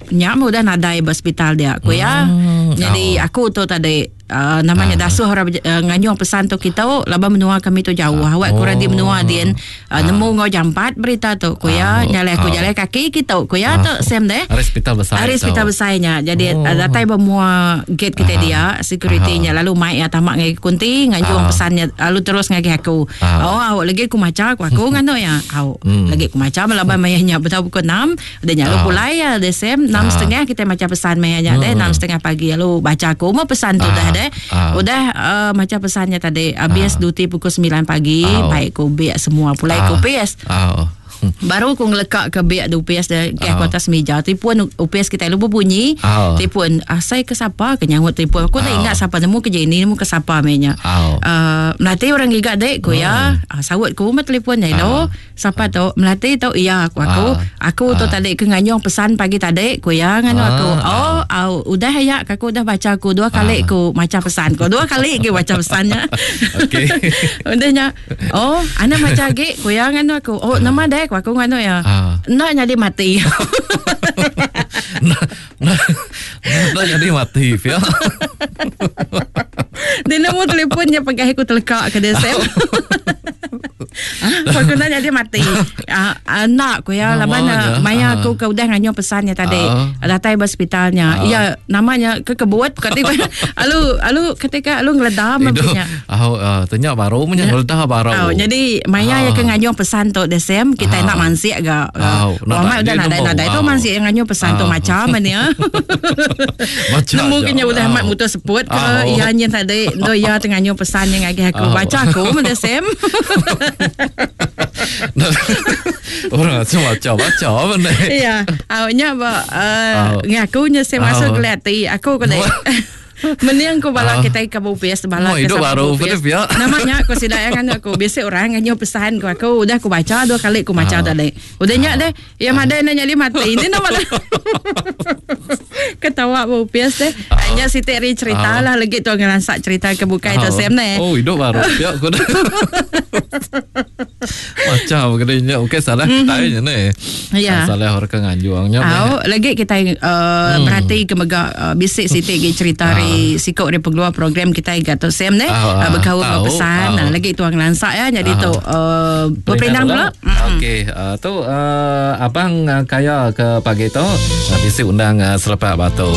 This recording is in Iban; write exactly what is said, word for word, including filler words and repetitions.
Nya mah udah nadai ba hospital dia ku ya. Hmm. Jadi Oh. aku tu tadi uh, namanya Ah. dasuh orang uh, nganyung pesan tu kita laban menua kami tu jauh. Awak Oh. kurang di menua din uh, nemu ngau jampat berita tu ku ya. Ah. Nyalai aku Ah. jalan kaki kita ku ya tu Sam deh. Hari hospital besar. Hari hospital tu. besarnya. Jadi Oh. oh. datai bermua gate kita Aha. dia, security-nya lalu mai ya tamak ngai kunti nganjung Ah. pesannya lalu terus ngagai aku. Ah. Oh, awak lagi aku maca aku aku nganu ya. Au, Hmm. lagi aku maca melaban mayanya betul pukul enam udah nya lalu Ah. pulai ya desem enam Ah. setengah kita maca pesan mayanya deh Hmm. enam setengah pagi lalu baca aku mau pesan tu Ah. dah deh. Ah. Udah uh, maca pesannya tadi habis Ah. duty pukul sembilan pagi Ah. baik ku biak semua pulai Ah. ku P S. Ah. Baru aku ngelekak ke biak U P S dia ke Ah. aku atas meja. Telefon U P S kita lu berbunyi. Ah. Telefon asai ke siapa ke nyangut telefon. Aku tak Ah. ingat siapa nemu ke Jenny nemu ke siapa menya. Ah. Uh, melati orang giga dek ku ya. Ah, sawut ku mah telefon ni lo. Siapa tu? Melati tu iya aku aku. Ah. Aku tu Ah. tadi ke nganyong pesan pagi tadi ku ya nganu Ah. aku. Oh, au, udah ya aku udah baca aku dua kali Ah. ku maca pesan ku. Dua kali ke baca pesannya. Okey. Udahnya. Oh, ana maca lagi ku ya nganu aku. Oh, nama dek aku nganu ya. Ah. Nak jadi mati. Nah, nah, nah jadi mati ya. Dia nemu telefonnya pakai aku telekak ke dia Sam. Ah, aku nak jadi mati. Ah, ah, nak ku ya Nama laban je. maya Ah. aku ke udah nganyo pesannya tadi. Ah. Datai ba hospitalnya. Ah. Ya, namanya ke kebut ketika alu alu ketika alu ngeledam Hidup. punya. Ah, ah, tanya baru punya ngeledah baru. Oh, jadi maya Ah. yang ke nganyo pesan tu desem kita Ah. nak mansik ga. Ah, Oh, mak udah dia nadai nemu. nadai tu Ah. mansik yang nganyo pesan tu Ah. macam ni ya. Macam Nemu je. kena udah Ah. mak mutus seput ke Ah. ya nyen tadi do ya tengah nyo pesan yang ngagi aku Ah. baca aku mah desem. Orang macam baca baca apa ni? Ya, awaknya ba uh, Ah. ngakunya saya masuk Ah. ke hati aku kena Mending aku bala Ah. kita ke Bupis bala Oh, ke hidup siapa baru, Bupis. betul, ya. Namanya aku sidak yang anu aku biasa orang nganyo pesan ku aku udah aku baca dua kali aku baca Ah. tadi. Udah nyak deh. Ya madai nanya dia mati. Ini nama dah. Ketawa Bupis deh. Hanya si Teri cerita Ah. lah lagi tu ngelansak cerita ke bukai tu Ah. Sam ni. Oh, hidup baru. Ya, aku dah. Macam kena okey salah kita je ni. Ya. Salah orang ke nganjuangnya. Au, lagi kita uh, hmm. berhati ke mega uh, bisik sitik gi cerita hari sikok dari pengeluar program kita gato Sam ne Ah, ah, uh, berkaul tahu, pesan tahu. nah, lagi tuang lansak ya jadi Ah. tu uh, berperindang pula. Okey, uh, tu uh, abang uh, kaya ke pagi tu uh, bisi undang uh, selepak batu.